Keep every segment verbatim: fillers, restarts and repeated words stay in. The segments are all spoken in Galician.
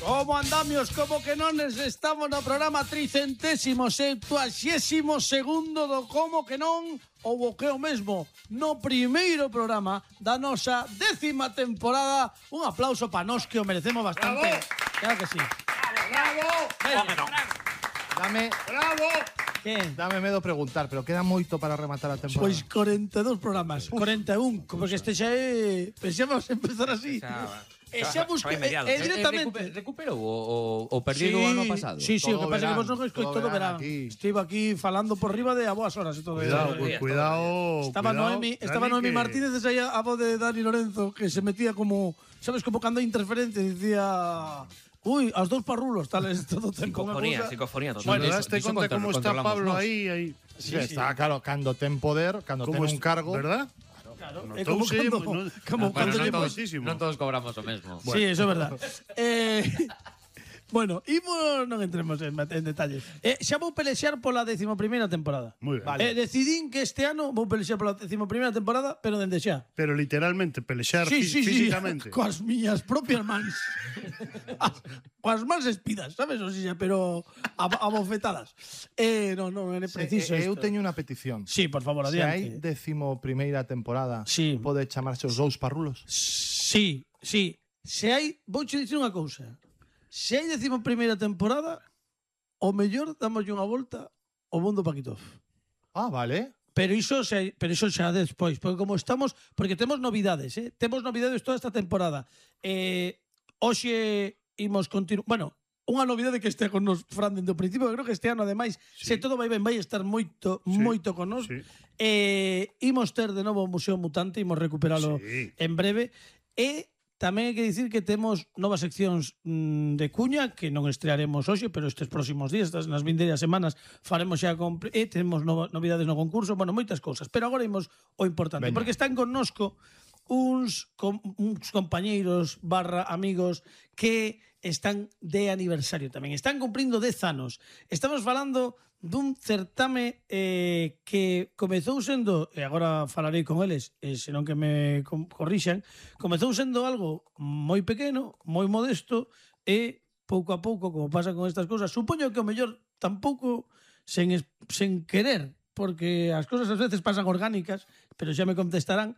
Como andamios, como que non estamos no programa tricentésimo, septuaxésimo segundo do Como que non, ou o que o mesmo, no primeiro programa da nosa décima temporada. Un aplauso pa nós que o merecemos bastante. Bravo. Claro que sí. Bravo. Bravo. Dame, Bravo. Que? dame medo preguntar, pero queda moito para rematar a temporada. Pois corenta e dous programas, corenta e un, porque este xa é... Pensamos empezar así. E xa busca, e, e directamente... Recuperou o, o perdido sí, o ano pasado? Sí, sí, o que pasa é que vos non escoito todo todo verán. verán aquí. Estive aquí falando por riba de a boas horas e todo. Cuidado, Eh, cu- cuidado. Estaba cuidado, Noemi, estaba Dani, Noemi que- Martínez aí a voz de Dani Lorenzo, que se metía como, sabes, como cando hai interferencia, dicía, uy, aos dous parrulos, tales todo ten como Psicofonía, psicofonía total. Bueno, Iso- daste iso conta contro- como está controlamos Pablo nós. aí, aí. Sí, está claro, cando ten poder, cando ten Como un cargo. ¿Verdad? Claro, No, é como touse, cando, no- como no, cando bueno, lle no pois- todos. Non todos cobramos o mesmo. Sí, eso é verdad. eh, bueno, imos, non entremos en, en detalles. Eh, xa vou pelexar pola décimo primeira temporada. Muy bien. Eh, decidín que este ano vou pelexar pola décimo primeira temporada, pero dende xa. Pero literalmente, pelexar Sí, fí- sí, sí, físicamente. coas miñas propias mans. As- coas mans espidas, sabes? O sea, pero a, a bofetadas. Eh, non, non, é preciso. Eh, eh, eu isto. teño unha petición. Sí, por favor, Se hai adiante. décimo primeira temporada, Sí. pode chamarse os dous parrulos? Sí, sí. Se hai, vou che dicir unha cousa. Se hai décimo primeira temporada, o mellor damoslle unha volta ao mundo Paquitov. Ah, vale. Pero iso xa, pero iso xa despois, porque como estamos, porque temos novidades, eh? Temos novidades toda esta temporada. Eh, hoxe imos continuar, bueno, unha novidade que estea con nos Fran dende o principio, creo que este ano ademais, Sí. se todo vai ben, vai estar moito, Sí, moito con nos. sí. Eh, imos ter de novo o Museo Mutante, imos recuperalo Sí. en breve. E tamén hai que dicir que temos novas seccións mm, de cuña que non estrearemos hoxe, pero estes próximos días, estas nas vindeiras semanas faremos xa con, e temos nova, novidades no concurso, bueno, moitas cousas, pero agora imos o importante, Veña. porque están connosco uns, com, uns compañeiros barra amigos que están de aniversario tamén, están cumprindo dez anos. Estamos falando dun certame eh, que comezou sendo, e agora falarei con eles, e senón que me com- corrixan, comezou sendo algo moi pequeno, moi modesto, e pouco a pouco, como pasa con estas cousas, supoño que o mellor tampouco sen, es- sen querer, porque as cousas ás veces pasan orgánicas, pero xa me contestarán,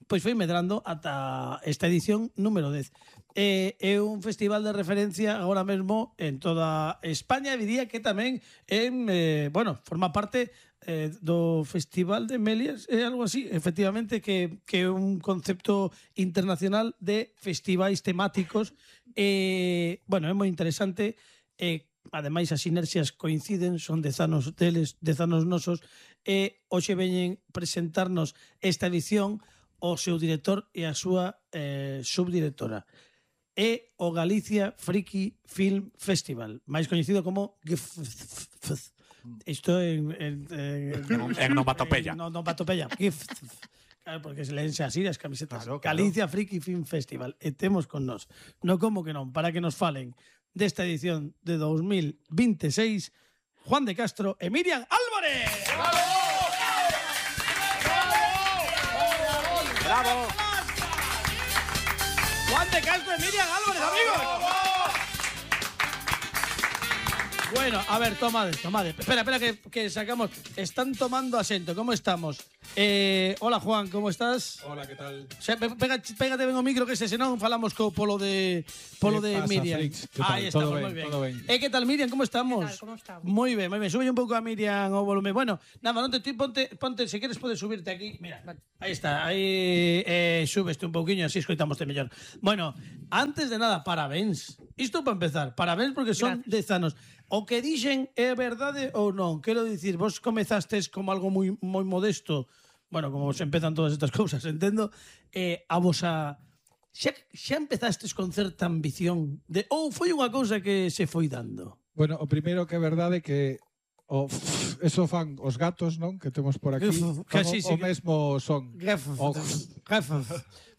pois foi medrando ata esta edición número dez. Eh, é un festival de referencia agora mesmo en toda España, e diría que tamén en, eh, bueno, forma parte eh, do Festival de Melias, é algo así, efectivamente, que, que é un concepto internacional de festivais temáticos. Eh, bueno, é moi interesante, eh, ademais as sinerxias coinciden, son dez anos deles, dez anos nosos, e hoxe veñen presentarnos esta edición o seu director e a súa eh, subdirectora. É o Galicia Friki Film Festival, máis coñecido como G F F. Isto en... En, en, En onomatopeya. En onomatopeya. G F F. Claro, porque se leense así as camisetas. Claro, claro. Galicia Friki Film Festival. E temos con nós. No como que non, para que nos falen desta edición de dos mil veintiséis, Juan de Castro e Miriam Álvarez. ¡Bravo! Juan de Castro y Miriam Álvarez, amigos. Bueno, a ver, tomade, tomade. Espera, espera, que, que sacamos. Están tomando asiento. ¿Cómo estamos? Eh, hola, Juan, ¿cómo estás? Hola, ¿qué tal? O sea, pe- pega, pégate ben o micro, que se senón falamos co polo de polo ¿Qué de pasa, Miriam. Flix? ¿Qué tal? Aí Todo estamos, ben, moi ben. todo ben. Eh, que tal, Miriam? ¿Cómo estamos? ¿Qué tal? ¿Cómo estamos? Moi ben, moi ben. Sube un pouco a Miriam o volumen. Bueno, nada, non te ti ponte, ponte, se queres podes subirte aquí. Mira, aí está. Aí eh, subeste un pouquiño, así escoitamoste mellor. Bueno, antes de nada, parabéns. Isto para empezar, parabéns porque son dez anos. O que dixen é verdade ou non? Quero dicir, vos comezastes como algo moi moi modesto. Bueno, como se empezan todas estas cousas, entendo. Eh, a vosa xa, xa empezastes con certa ambición de ou foi unha cousa que se foi dando? Bueno, o primeiro que é verdade que o f- eso fan os gatos, non? Que temos por aquí. Que Fan sí, o, sí, o que- mesmo son. O-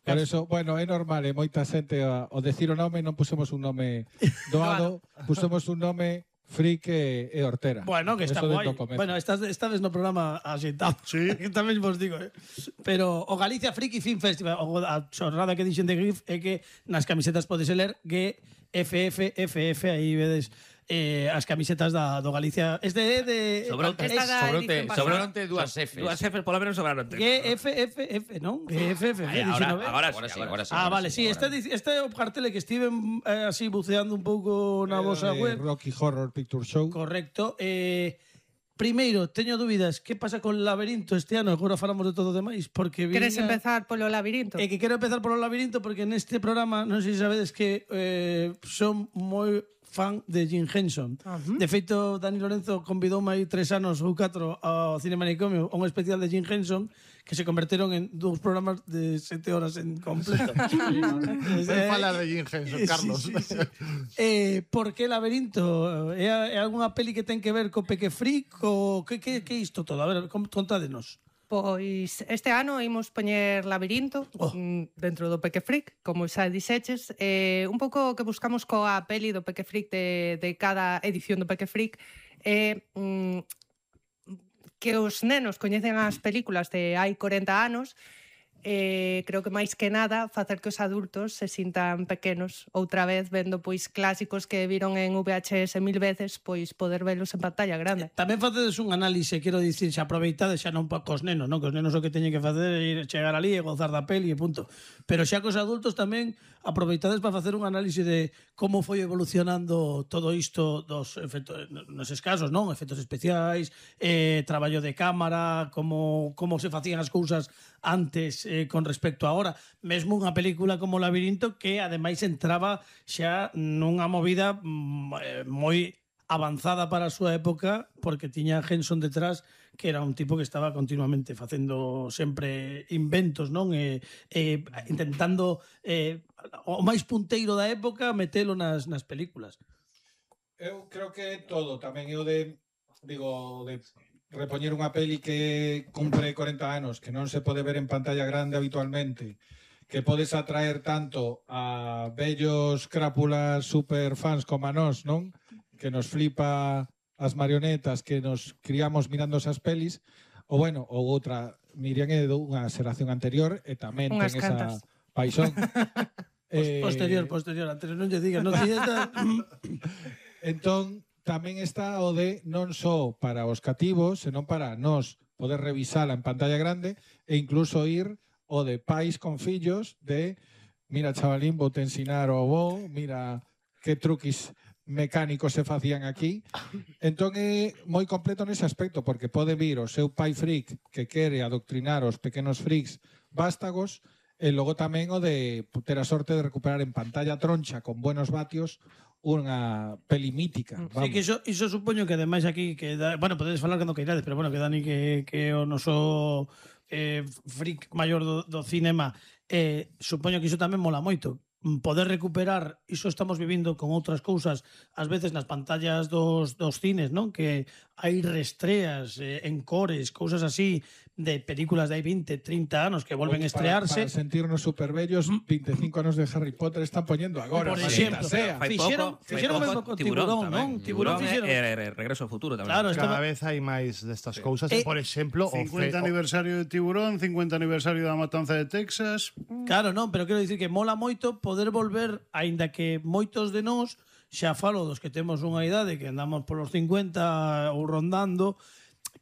Por eso, bueno, é normal, e moita xente a- ao decir o nome non pusemos un nome doado, pusemos un nome Frique e Hortera. Bueno, que está Eso guai. dentro do comezo. Bueno, estás, esta vez no programa asentado. Sí. Que tamén vos digo, eh. Pero o Galicia Friki Film Festival, o a chorrada que dixen de Grif é que nas camisetas podes ler que F F F F, aí vedes eh, as camisetas da, do Galicia. Este é de... Sobroute, Esta da sobroute, edición pasada. sobroute dúas Fs. Dúas Fs, polo menos sobraron tres. Que F F F, non? Que F F F, Ay, dixen, ahora, non? agora, agora sí, agora sí. Ah, agora vale, sí, agora. este, este é o cartel que estive eh, así buceando un pouco na vosa Eh, web. Rocky Horror Picture Show. Correcto. Eh, primeiro, teño dúbidas, que pasa con Laberinto este ano? Agora falamos de todo o demais, porque Queres viña- empezar polo labirinto? É que quero empezar polo Labirinto porque neste programa, non sei se sabedes que eh, son moi fan de Jim Henson. Ajá. De feito, Dani Lorenzo convidoume aí tres anos ou catro ao Cine Manicomio a un especial de Jim Henson que se converteron en dous programas de sete horas en completo. Ven fala de Jim Henson, Carlos. Sí, sí, sí. Eh, por que Laberinto? É, é algunha peli que ten que ver co Peque Freak? O que, que, que é isto todo? A ver, com- contádenos. Pois este ano imos poñer Labirinto Oh. mm, dentro do Peque Freak, como xa dixeches. Eh, un pouco o que buscamos coa peli do Peque Freak de, de cada edición do Peque Freak é mm, que os nenos coñecen as películas de hai corenta anos. Eh, creo que máis que nada facer que os adultos se sintan pequenos outra vez vendo pois clásicos que viron en V H S mil veces, pois poder velos en pantalla grande. Tamén facedes un análise, quero dicir, se aproveitades xa non pa cos nenos, non? Que os nenos o que teñen que facer é ir chegar ali e gozar da peli e punto. Pero xa cos adultos tamén aproveitades para facer un análise de como foi evolucionando todo isto dos efectos, nos casos, non? Efectos especiais, eh, traballo de cámara, como, como se facían as cousas antes eh, con respecto a ahora. Mesmo unha película como Labirinto que ademais entraba xa nunha movida mm, eh, moi avanzada para a súa época porque tiña Henson detrás que era un tipo que estaba continuamente facendo sempre inventos, non? E, e intentando eh, o máis punteiro da época metelo nas, nas películas. Eu creo que todo, tamén eu de digo de repoñer unha peli que cumpre corenta anos, que non se pode ver en pantalla grande habitualmente, que podes atraer tanto a bellos crápulas super fans como a nós, non? Que nos flipa as marionetas que nos criamos mirando esas pelis, ou bueno, ou outra, Miriam é dunha xeración anterior e tamén Unhas ten cantas. esa paixón. Eh... Posterior, posterior, antes non lle digas, non tiñes esta... Entón, tamén está o de non só para os cativos, senón para nós poder revisala en pantalla grande e incluso ir o de pais con fillos de mira, chavalín, vou te ensinar o bo, mira que truquis mecánicos se facían aquí. Entón é moi completo nese aspecto, porque pode vir o seu pai freak que quere adoctrinar os pequenos freaks vástagos e logo tamén o de ter a sorte de recuperar en pantalla troncha con buenos vatios unha peli mítica. Sí, Vamos. que iso, iso supoño que ademais aquí que da, bueno, podedes falar cando queirades, pero bueno, que Dani que, que o noso eh, freak maior do, do cinema eh, supoño que iso tamén mola moito poder recuperar, iso estamos vivindo con outras cousas, ás veces nas pantallas dos, dos cines, non? Que hai restreas, eh, encores, cousas así de películas de hai vinte, trinta anos que volven a Pois para- estrearse. Para, sentirnos superbellos, veinticinco anos de Harry Potter están poniendo agora. Por maldita exemplo, sea. Fai Fixeron- pouco, fai fixeron pouco, mesmo con Tiburón, non? Tiburón Tiburón fixeron. e, e, e Regreso ao Futuro tamén. Claro, estaba- Cada vez hai máis destas cousas. Eh, Por exemplo, o cincuenta fe- o- aniversario de Tiburón, cincuenta aniversario da Matanza de Texas. Claro, non, pero quero dicir que mola moito poder volver, aínda que moitos de nós, xa falo dos que temos unha idade que andamos polos cincuenta ou rondando,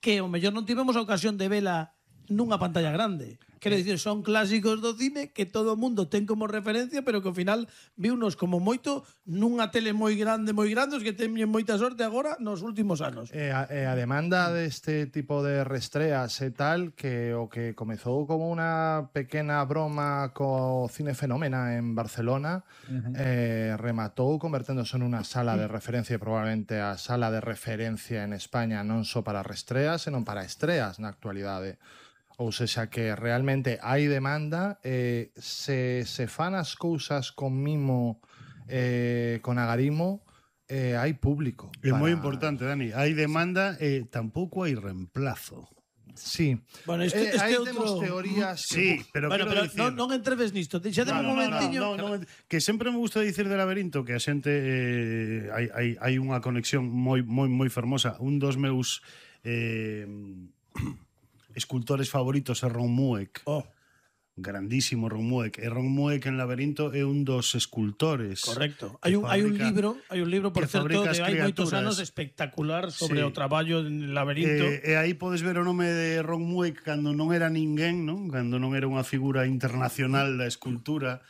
que o mellor non tivemos a ocasión de vela nunha pantalla grande. Quero dicir, son clásicos do cine que todo o mundo ten como referencia, pero que ao final viunos como moito nunha tele moi grande, moi grandes que teñen moita sorte agora nos últimos anos. E a, e a demanda deste tipo de restreas e tal, que o que comezou como unha pequena broma co Cine Fenómena en Barcelona, uh-huh. eh, rematou converténdose en unha sala de referencia, probablemente a sala de referencia en España non só para restreas, senón para estreas na actualidade. Ou sexa que realmente hai demanda, eh, se, se fan as cousas con mimo, eh, con agarimo, eh, hai público. É para- moi importante, Dani. Hai demanda e tampouco hai reemplazo. Sí. Bueno, este, Eh, este aí outro... temos teorías que... Sí, pero Bueno, quero pero dicir... non, non entreves nisto. Deixade No, un no, no, momentiño. no, no, no, que sempre me gusta dicir de Laberinto que a xente eh, hai, hai, hai unha conexión moi moi moi fermosa. Un dos meus eh, escultores favoritos é Ron Mueck. Oh. grandísimo Ron Mueck. E Ron Mueck en Laberinto é un dos escultores. Correcto. Hai un, hai un libro, hai un libro, por certo, de hai moitos anos espectacular sobre sí. o traballo en Laberinto. E, e aí podes ver o nome de Ron Mueck cando non era ninguén, non? Cando non era unha figura internacional da escultura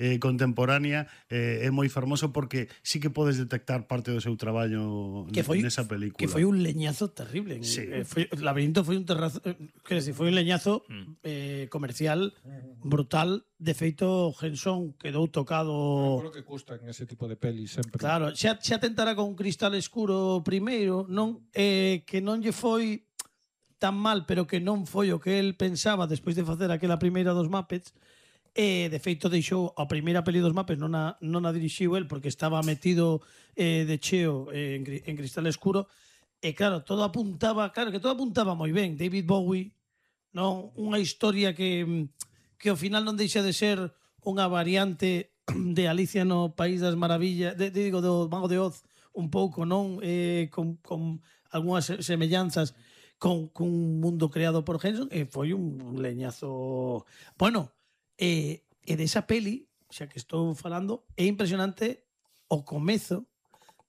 eh, contemporánea, eh, é moi fermoso porque sí que podes detectar parte do seu traballo que foi, nesa película. Que foi un leñazo terrible. Sí. Eh, foi, Laberinto foi un terrazo, eh, que decir, foi un leñazo eh, comercial brutal. De feito, Henson quedou tocado... Creo que custa en ese tipo de pelis sempre. Claro, xa, xa tentara con Cristal Escuro primeiro, non eh, que non lle foi tan mal, pero que non foi o que el pensaba despois de facer aquela primeira dos Muppets. E, de feito, deixou a primeira peli dos Muppets, non a, non a dirixiu el porque estaba metido eh, de cheo eh, en, en Cristal Escuro. E, claro, todo apuntaba, claro, que todo apuntaba moi ben. David Bowie, non, unha historia que, que ao final non deixa de ser unha variante de Alicia no País das Maravillas, de, de, digo, do Mago de Oz, un pouco, non? Eh, con, con algunhas semellanzas con, con un mundo creado por Henson, e foi un leñazo... Bueno, E, e desa peli, xa que estou falando, é impresionante o comezo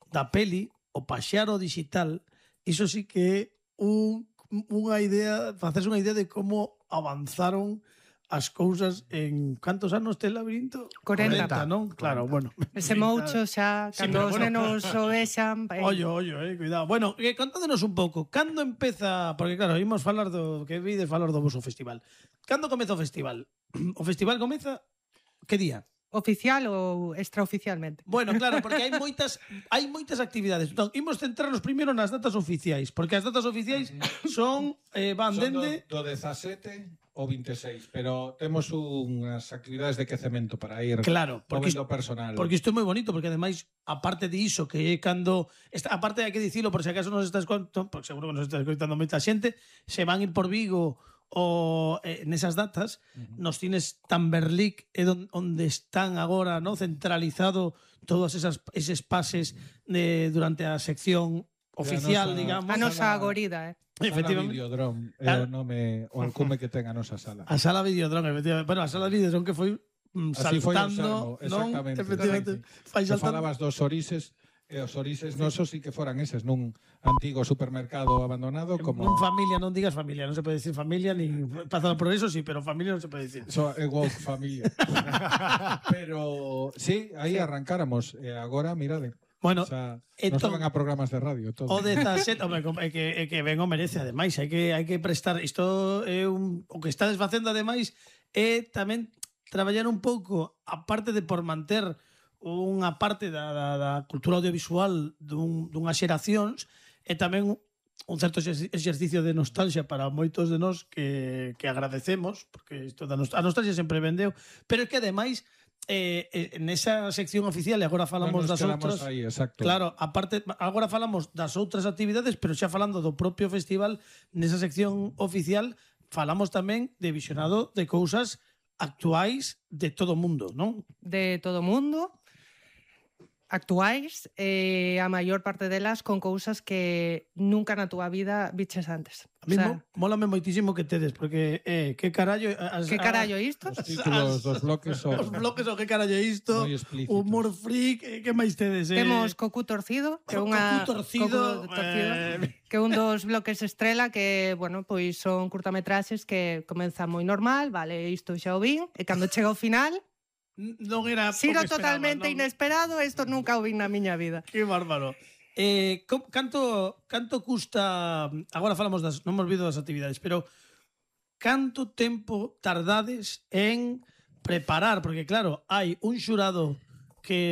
da peli, o paxaro digital. Iso sí que é un, unha idea, facerse unha idea de como avanzaron as cousas en cantos anos ten Laberinto? corenta, non? Claro, bueno. Ese moucho xa, Sí, cando pero os bueno. nenos o vexan... eh, Ollo, ollo, eh, cuidado. Bueno, eh, contándonos un pouco, cando empeza, porque claro, imos falar do que vides falar do voso festival. Cando comeza o festival? O festival comeza que día? Oficial ou extraoficialmente? Bueno, claro, porque hai moitas hai moitas actividades. Entón, imos centrarnos primeiro nas datas oficiais, porque as datas oficiais son eh, van Son dende do, do dezasete ao vinte e seis, pero temos unhas actividades de quecemento para ir Claro, porque movendo personal. Porque isto é moi bonito, porque ademais, aparte de iso, que é cando... Esta, aparte hai que dicilo, por se acaso nos estás contando, porque seguro que nos estás contando moita xente, se van ir por Vigo o eh, nesas datas, uh-huh. nos cines Tamberlic é don, onde están agora, no, centralizado todos esas, eses pases de, durante a sección oficial, nosa, digamos. A nosa agorida, eh? Efectivamente. Sala Videodrome é Ah. o nome, o alcume que ten a nosa sala. A sala Videodrome, efectivamente. Bueno, a sala Videodrome que foi mm, Así foi o saltando, Salmo, non? exactamente. Efectivamente. Fai Se saltando. falabas dos orises, e os orises nosos sí que foran eses nun antigo supermercado abandonado como... Non familia, non digas familia, non se pode decir familia, ni pasado por eso sí, pero familia non se pode decir. So, é woke familia. Pero sí, aí arrancáramos. E agora, mirade. Bueno, O sea, entón, nos van a programas de radio todo. o dezasete, hombre, é que, é que ben o merece, ademais, hai que, hai que prestar, isto é un, o que estades facendo, ademais, é tamén traballar un pouco, aparte de por manter unha parte da, da, da cultura audiovisual dun, dunhas xeracións, e tamén un certo exercicio de nostalgia para moitos de nós que, que agradecemos, porque isto da nostalgia, a nostalgia sempre vendeu, pero é que ademais eh, eh, nesa sección oficial, e agora falamos Non nos das quedamos outras, aí, exacto. claro, aparte, agora falamos das outras actividades, pero xa falando do propio festival, nesa sección oficial falamos tamén de visionado de cousas actuais de todo o mundo, non? De todo o mundo, actuais, e a maior parte delas con cousas que nunca na túa vida biches antes. A mí mo- mólame moitísimo que tedes, porque eh, que carallo... As, Que carallo isto? Os títulos dos bloques son Os bloques o que carallo é isto, moi explícitos. humor freak, eh, que máis tedes? Eh? Temos Cocu Torcido, que é unha Cocu Torcido, Cocu Torcido, eh, que é un dos bloques estrela que, bueno, pois son curtametraxes que comenzan moi normal, vale, isto xa o vin, e cando chega ao final, non era o xiro que esperaba, totalmente non? inesperado, isto nunca o vin na miña vida. Que bárbaro. Eh, com, canto, canto custa... Agora falamos das... Non me olvido das actividades, pero canto tempo tardades en preparar? Porque, claro, hai un xurado que